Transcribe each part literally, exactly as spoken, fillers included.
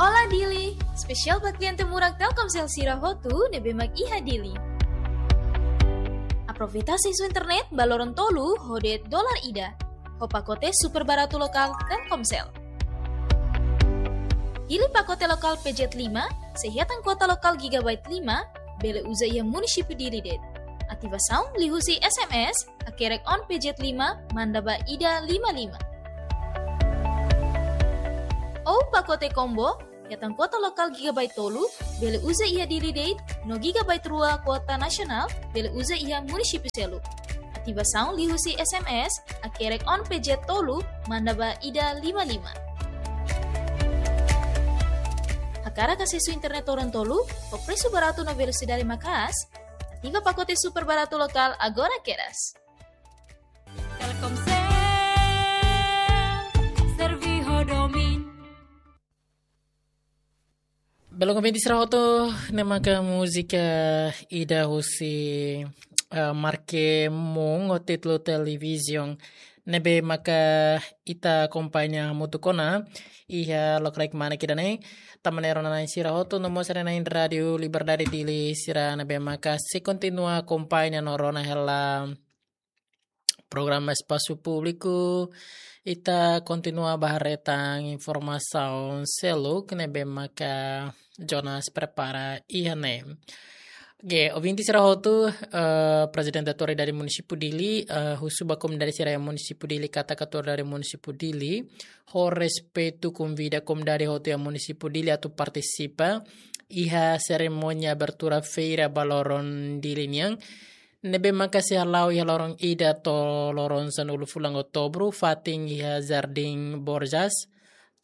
Olá Dili, espesiál ba kliente murak Telkomsel sira hotu ne'ebé mak iha Dili. Aproveita asesu internet ba loron tolu ho de'it dolar ida, ho pakote super baratu lokál Telkomsel. Pilih pakote lokál P Z lima, se hetan kuota lokál gigabyte lima, bele uza iha munisípiu Dili de'it. Ativasaun liuhusi S M S, hakerek on P Z lima, manda ba ida lima lima. Ou pakote combo, hetan kuota lokál gigabyte tolu, bele uza iha Dili de'it, no gigabyte rua kuota nasionál, bele uza iha munisípiu seluk. Ativasaun liuhusi S M S, hakerek on P Z tolu, manda ba ida lima lima. Hakarak asesu internet loron tolu, ho presu baratu no velosidade maka'as, ativa pakote super baratu lokál agora kedas. Telkomsel, serve ho domin. Belun ouvinte sira hotu, ne'e maka múzika ida husi, eh, Marque Moon ho títulu Television. Ne'ebé maka ita akompaña hamutuk ona iha lokraik mane ida-ne'e. Tanba ne'e rona-na'in sira hotu, no mós sira na'in Rádiu Liberdade Dili sira ne'ebé maka sei kontinua akompaña no rona hela programa Espasu Públiku, ita kontinua ba haree tan informasaun seluk ne'ebé maka Jonas prepara iha ne'e. Oke, ouvinte sira hotu, eh, Prezidente Autoridade Munisípiu Dili, eh, husu ba komunidade sira iha Munisípiu Dili katak Autoridade Munisípiu Dili ho respeitu konvida komunidade hotu iha Munisípiu Dili atu partisipa iha serimónia abertura feira ba loron Dili nian, ne'ebé maka sei hala'o iha loron ida to'o loron sanulu fulan Outubru, fatin iha Jardim Borjas,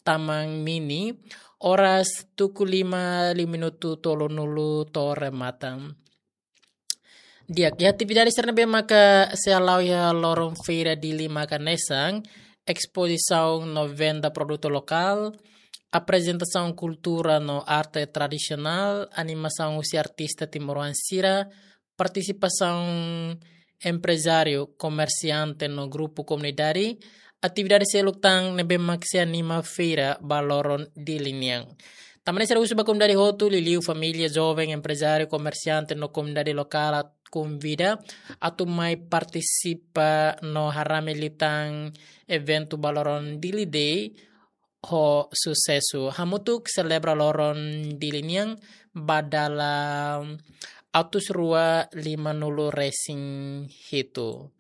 Taman Mini, oras tuku lima liu minutu tolunulu to'o remata. Di'ak, iha atividade sira ne'ebé maka sei hala'o iha loron feira Dili maka hanesan, espozisaun no venda produtu lokál, aprezentasaun kultura no arte tradisionál, animasaun husi artista timoroan sira, partisipasaun emprezáriu, komersiante no grupu komunidade, atividade seluk tan ne'ebé mak sei anima feira ba loron Dili nian. Tanba ne'e sira husu ba komunidade hotu, liuliu família, joven, emprezáriu, komersiante no komunidade lokál atu konvida atu mai partisipa no harame liután eventu ba loron Dili Day ho susesu. Hamutuk selebra loron Dili nian ba dala atus rua limanulu resin hitu.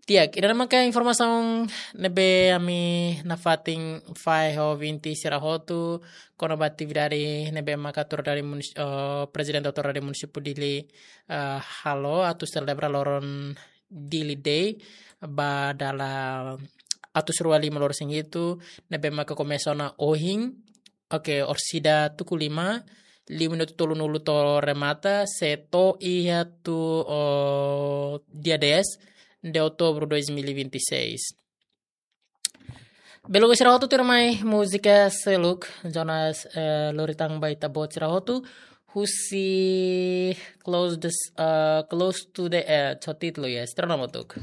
Di'ak, ida-ne'e maka informasaun ne'ebé ami nafatin fahe ho ouvinte sira hotu kona-ba atividade ne'ebé maka Autoridade Munis-, eh, Prezidente Autoridade Munisípiu Dili, eh, halo atu selebra loron Dili Day ba dala atus rua limanulu resin hitu, ne'ebé maka komesa ona ohin, oke, orsida tuku lima, liu minutu tolunulu to'o remata, sei to'o iha tuir, oh, dia dez de Outubro dois mil e vinte e seis. Belun sira hotu, tuirmai múzika seluk, Jonas, eh, lori tan ba ita-boot sira hotu, husi Close the S-, eh, Close to the Edge, ho títulu, yes, sira rona hamutuk.